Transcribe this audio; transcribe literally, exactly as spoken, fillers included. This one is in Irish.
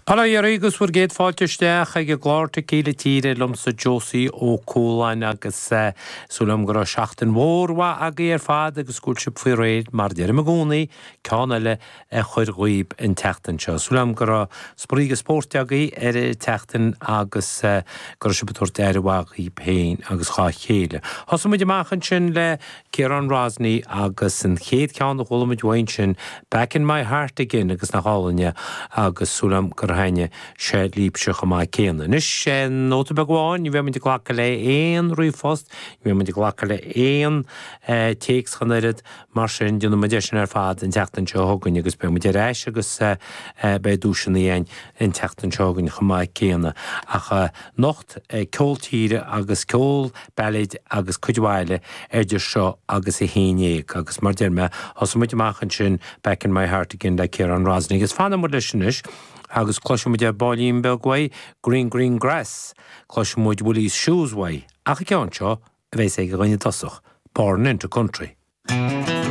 Bail ó Dhia oraibh agus bhur gcéad fáilte isteach ag an gclár Tequila Tíre liomsa Josie Ó Cualáin agus súil agam go raibh seachtain mhór mhaith agaibh ar fad agus go bhfuil sibh faoi réir mar deirim i gcónaí ceann eile a chur dhaoib an tseachtain seo. Súil agam go raibh spraoi agus spórt agaibh ar an tseachtain agus go raibh sibh ag tabhairt aire mhaith dhaoib féin agus dhá chéile. Thosaigh muid amach ansin le Ciarán Rosney agus an chéad cheann a chuala muid uaidh ansin Back in my heart again agus nach álainn é agus súil agam gur thaitnigh sé libhse chomh maith céanna. Anois nóta beag amháin, ní bheidh muid ag glacadh le aon ríomhphost, ní bheidh muid ag glacadh le aon téacs ach an oiread, mar sin déanfaidh muid é sin ar fad an tseachtain seo chugainn agus beidh muid ar ais agus beidh duaiseanna againn an tseachtain seo chugainn chomh maith céanna. Ach anocht ceol tíre agus ceol bailéid agus cuid mhaith eile idir seo agus a haon déag agus mar deir mé thosaigh muid amach ansin Back in my heart again le Ciarán Rosney agus fanfaidh muid leis anois agus cloisfidh muid ar baillín beag uaidh Green Green Grass, cloisfidh muid Willie's Shoes uaidh, ach an ceann seo a bheas ag an dhuine tosach, Born into Country.